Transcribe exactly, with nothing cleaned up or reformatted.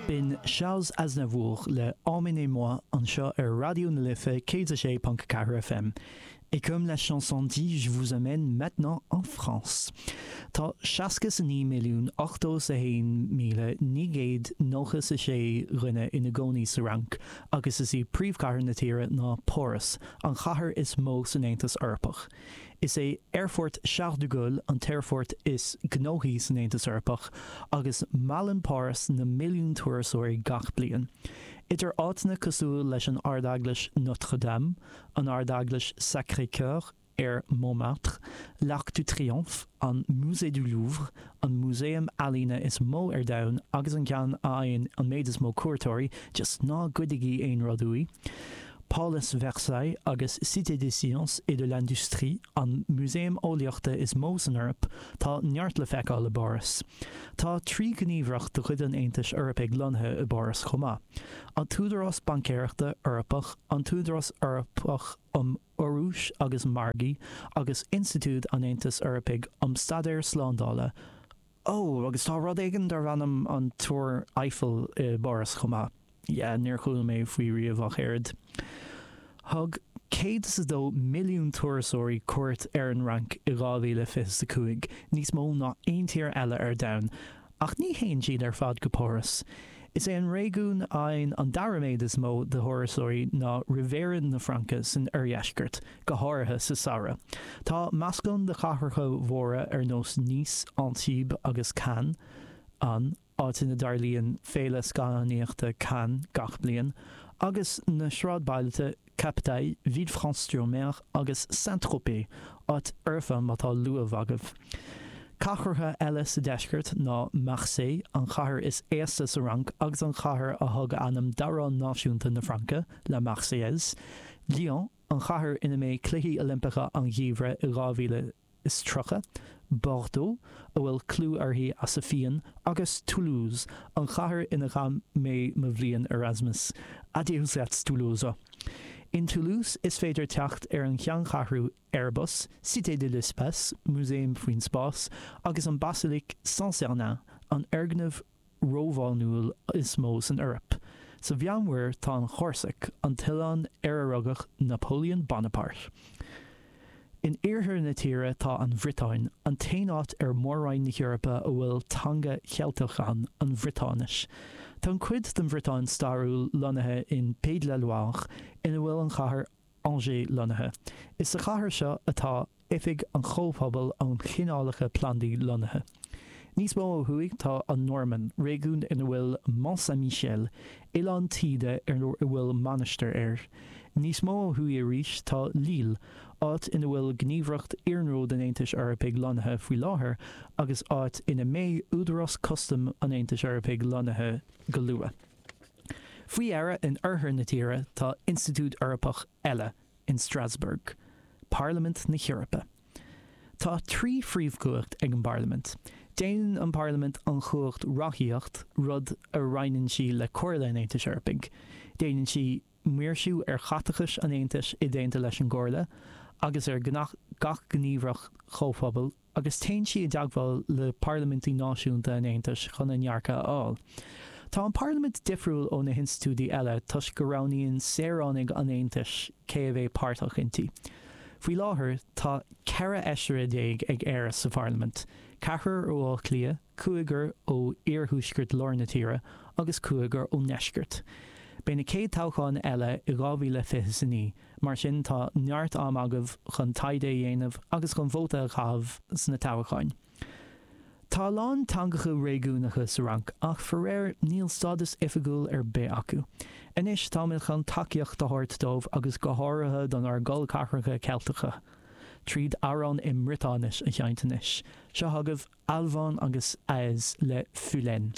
B'in Charles Aznavour le Emmenez-moi anseo ar Raidió na Life céad a sé ponc ceathair FM. Et comme la chanson dit, je vous amène maintenant en France. Tá seasca a naoi milliún ochtó a haon míle naoi gcéad nócha a sé dhuine ina gcónaí sa Fhrainc, agus is í príomhchathair na tíre ná Páras, an chathair is mó san Aontas Eorpach. Is é Aerfort Charles de Gaulle an t-aerfort is gnóthaí san Aontas Eorpach, agus meallann Páras na milliúin turasóirí gach bliain. Idir áiteanna cosúil leis an Ardeaglais Notre-Dame, an Ardeaglais Sacré-Cœur ar Montmartre, l'Arc de Triomphe, an Musée du Louvre, an músaem ealaíne is mó ar domhan agus an ceann a fhaigheann an méid is mó cuairteoirí, just ná goidigí aon rud uaidh. Pálas Versailles agus Cité des Sciences et de l'Industrie an músaem eolaíochta is mó san Eoraip, tá neart le feiceáil i bPáras. Tá trí ghníomhaireacht de chuid an Aontais Eorpaigh lonnaithe i bPáras chomh maith. An tÚdarás Baincéireachta Eorpach, an tÚdarás Eorpach um Urrúis agus Margaí agus Institiúid an Aontais Eorpaigh um Staidéir Slándála. Ó, agus tá rud éigin darb ainm an Túr Eiffel i bPáras chomh maith. Yeah, níor chuala mé faoi riamh ach oiread. Thug céad is a dó milliún turasóirí cuairt ar an Fhrainc i dhá mhíle fiche a cúig, níos mó ná aon tír eile ar domhan, ach ní théann siad ar fad go Páras. Is é an réigiún a fhaigheann an dara méid is mó de thurasóirí ná Riviera na Fraince san oirdheisceart, go háirithe sa samhradh. Tá meascán de chathracha mhóra ar nós Nice, Antibes agus Cannes ann, áit ina dtarlaíonn Féile Scannánaíochta Cannes gach bliain, agus na sráidbhailte Capdenac, Villefranche-sur-Mer agus Saint-Tropez, áit fhoirfe má tá luamh agaibh. Cathracha eile sa deisceart ná Marseille, an chathair is aosta sa Fhrainc agus an chathair a thug ainm d'amhrán náisiúnta na Fraince, La Marseillaise, Lyon, an chathair ina mbeidh Cluichí Oilimpeacha an Gheimhridh i dhá mhíle is tríocha, Bordeaux, a bhfuil clú uirthi as a fíon, agus Toulouse, an chathair ina chaith mé mo bhliain Erasmus. Adieussiatz Toulouse. In Toulouse is féidir teacht ar an cheanncheathrú Airbus, Cité de l'Espace, músaem faoin spás, agus an Basilique Saint-Sernin, an foirgneamh Rómhánúil is mó san Eoraip. Sa Mheánmhuir tá an Chórsaic, an t-oileán ar a rugadh Napoleon Bonaparte. In iarthar na tíre tá an Bhriotáin, an t-aon áit ar mhór-roinn na hEorpa a bhfuil teanga Cheilteach ann, an Bhriotáinis. Tá an chuid den Bhriotáin stairiúil lonnaithe in Pays de la Loire, ina bhfuil an chathair Angers lonnaithe. Is sa chathair seo atá Oifig an Chomhphobail um Chineálacha Plandaí lonnaithe. Níos mó ó thuaidh tá an Normainn, réigiún ina bhfuil Mont Saint-Michel, oileán taoide ar a bhfuil mainistir air. Níos mó ó thuaidh arís tá Lille, áit ina bhfuil Gníomhaireacht Iarnróid an Aontais Eorpaigh lonnaithe faoi láthair agus áit ina mbeidh Údarás Custaim an Aontais Eorpaigh lonnaithe go luath. Faoi dheireadh, in oirthear na tíre tá institiúid Eorpach eile in Strasbourg, Parlaimint na hEorpa. Tá trí phríomhchumhacht ag an bParlaimint. Déanann an Parlaimint an chumhacht reachtaíocht, rud a roinneann sí le Comhairle an Aontais Eorpaigh. Déanann sí maoirsiú ar chaiteachais an Aontais i dteannta leis an gComhairle agus ar gach gníomhaireacht Chomhphobail agus téann sí i dteagmháil le parlaimintí náisiúnta an Aontais chun a ndearcadh a fháil. Tá an Parlaimint difriúil ó na hinstitiúidí eile toisc go roghnaíonn saoránaigh an Aontais cé a bheidh páirteach inti. Faoi láthair tá ceithre fheisire déag ag Éire sa Pharlaimint, ceathrar ó Áth Cliath, cúigear ó iarthuaisceart lár na tíre agus cúigear ón ndeisceart. Beidh na chéad toghcháin eile i dhá mhíle fiche a naoi, mar sin tá neart am agaibh chun taighde a dhéanamh agus chun vóta a chaitheamh sna toghcháin. Tá a lán teangacha réigiúnacha sa Fhrainc ach faraor níl stádas oifigiúil ar bith acu. Anois táimid chun tacaíocht a thabhairt dóibh agus go háirithe don ár gcol ceathracha Ceilteacha. Tríd amhrán i mBriotáinis a sheinnt anois. Seo agaibh Alvan agus Ahez le Fulenn.